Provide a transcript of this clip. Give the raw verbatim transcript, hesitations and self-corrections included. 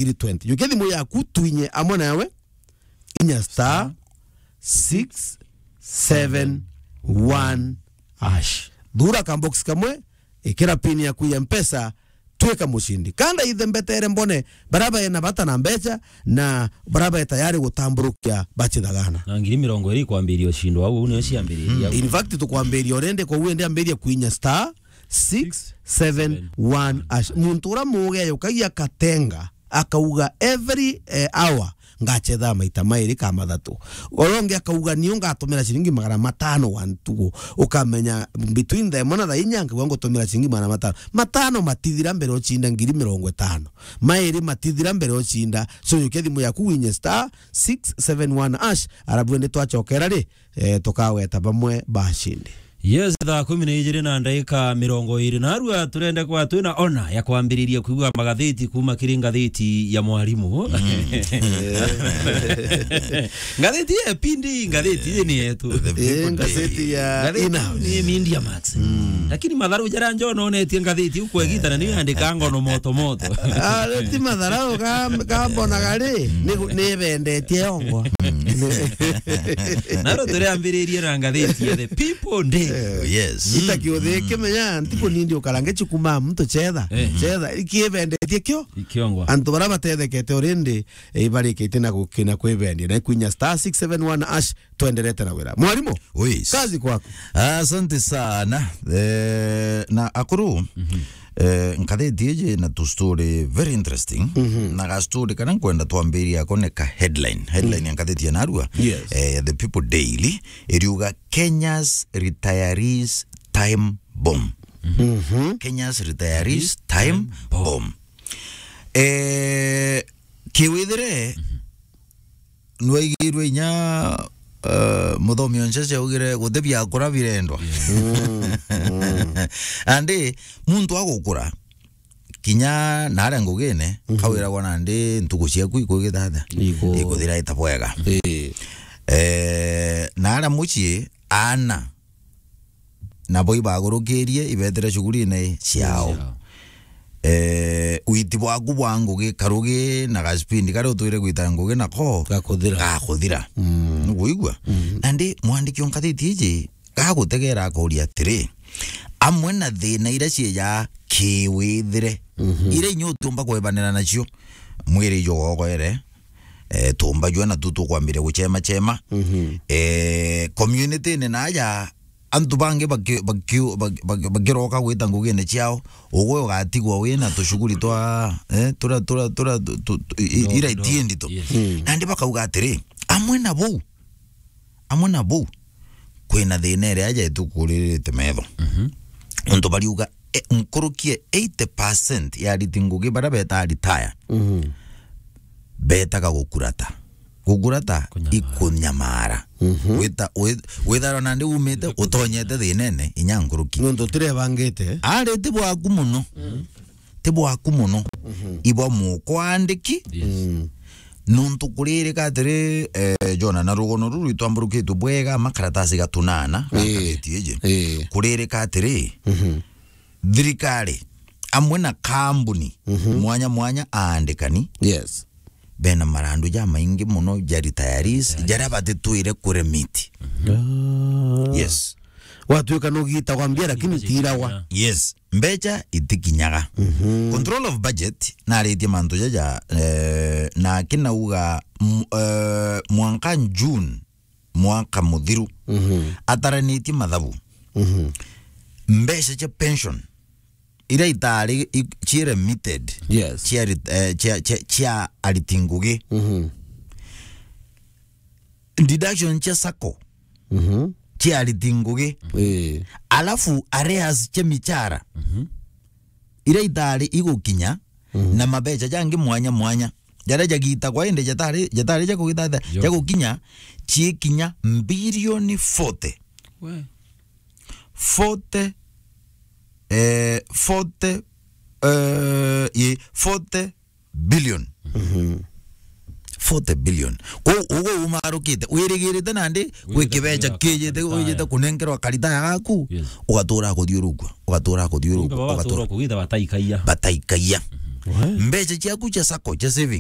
ngiri twenty. Jukia thimu yaku twinye amwe nawe, inya star six seven one hash. Thura ka box kamwe, ikira pin yaku ya Mpesa, twika mucindi. Kanda ithe mbetere mbone, bara bae na bata na mbecha, na bara bae tayari gutamburukia bachithagana. Na ngiri mirongo iri ikwambiria ucindo au, niyo ciambiriria. In fact, tukwambiria urende, kwa uende ambiria kwinya star six seven one hash. Muntu ura muge yukagia katenga, akauga every, eh, hour ngachetha maita mairi ka mathatu. Uria ungi akauga niu ngatumira ciringi magana matano wa ntugu. Ukamenya between thaa imwe na thaa inya nkauga ngutumira ciringi magana matano. Matano matithira mbere ucinda ngiri mirongo itano. Mairi matithira mbere ucinda. So, yukia thimu yaku winye star six seven one hash, arabu indi twachokera ri, eh, tukaweta bamwe bashindi. Yes, thaa kumi na ijiri na ndagika mirongo iri na arua turende kwa twina ona ya kwambiriria kuigua magatheti kuma kiri ngatheti ya mwarimu. Ngatheti ya Pindi, ngatheti iji ni yetu. The People Eh, Daily. Ngatheti ya Ngatheti Ina. Ni Media Max. Lakini matharu jara njo nonetie ngatheti ukwegita na niyo yandika ngono moto moto. Ah, ti matharau ka, ka mbona gari, ni, ni bendetie yongo. Naro turiambiririe na ngatheti ya The People Daily. Oh, yes. Ita kiuthi kimenya, ntiku nindi ukarange chukuma mtu chetha. Eh. Chetha, ikibendetie kio? Ikiongwa. Antu bara batethekete urindi, eh, ibarikite na gukina kwibendia. Na kwinya star six seven one hash, twenderete na wira. Mwarimu, Uis. Kazi kwako. Asante sana. Eh, na akuru, eh, ngatheti iji na tu story very interesting. Na ga story kana nkwenda twambiria ako ni ka headline. Headline ya ngatheti ya narua. Yes. Eh, The People Daily, iriuga Kenya's retirees time bomb. Kenya's retirees time bomb. Eh, kiwithire, nwaigirwe inya, eh, muthomi onse augire, "Guti biakura birendwa." Andi muntu agukura, kinya naria ngugine, kawiragwa nandi ntuku ciaku ikugithatha. Iku- Ikuthira ita bwega. Eh. Eh, naria mucii, aana nabo ibagurukirie, ibetere shughulini ciao. Ciao. Eh, witi bwaku bwa ngugi, karugi na gaspindi karia utwire gwita ngugi nako gakuthira. Gakuthira. Nukuigua? Nandi mwandiki o ngatheti iji gagutegera akuria atiri, amwe na thina iria ciija kiwithire, iria inya utiumba kwebanira nacio, mwiri ijo gogoere, eh, tumba jua na tu tukwambiria guchema chema. Eh, community-ini naja, antu bangi baki-, baki-, baki-, baki-, bakiroka gwita ngugine ciao, ugwe ugatigwa wina tushughuli twa, eh, tura, tura, tura, tu, tu, i-, i-, ira itiendi tu. Yes. Nandi bakauga atiri, amwe na bau, amwe na bau, kwina thina iria aja itukuririte metho. Untu bariuga, e, nkuruki e eighty percent ya ariti ngugi baria beta retire, betaga gukurata. Gukurata, kunyamara. Ikunyamara. Wita-, wi-, witharwa nandi umite, utonyete thinene, inya nkuruki. Nontu utirebangite. Ari ti bwaku muno. Ti bwaku muno. Ibwa mukwandiki. Yes. Nontu kuririka atiri, eh, Jona, na rugono ruru itwamburukitwe bwega, makaratasi gatunana, na ngatheti iji. Kuririka atiri, thirikari, amwe na kambuni, mwanya mwanya aandikani, yes, bena marandu jamaingi muno ja retirees, jaria batitwire kuremit. Ah. Yes. Watwika nugitagwa mbia, lakini tiiragwa. Yes. Mbecha itikinyaga. Control of budget, naritie mantu jaja, eh, na kinauga, m-, eh, mwanka June, mwaka muthiru, ataranitie mathabu. Mbecha cia pension, iria itari i-, cia remitted, yes, cia rit-, eh, cia, cia, cia ariti ngugi. Deduction cia sacco, cia ariti ngugi. Eh. Alafu arrears cia michara, iria itari igukinya, na mabecha jangi mwanya mwanya, jaria jagitagwa indi jatari, jatari ja kugitha-, ja gukinya, ciikinya mbilioni forty. We. Forty, eh, forty, eh, ye, forty billion. Forty billion. Kwou, ugu umarukite, wirigirite nandi gwi kibecha kijite, wijite kunenkerwa karitaya gaku, yes, ugatura kuthiurukua, ugatura kuthiurukua, kumbe baba ugatura batura kugitha bataikaia. Bataikaia. Mbeca ciaku cia sacco, cia savings.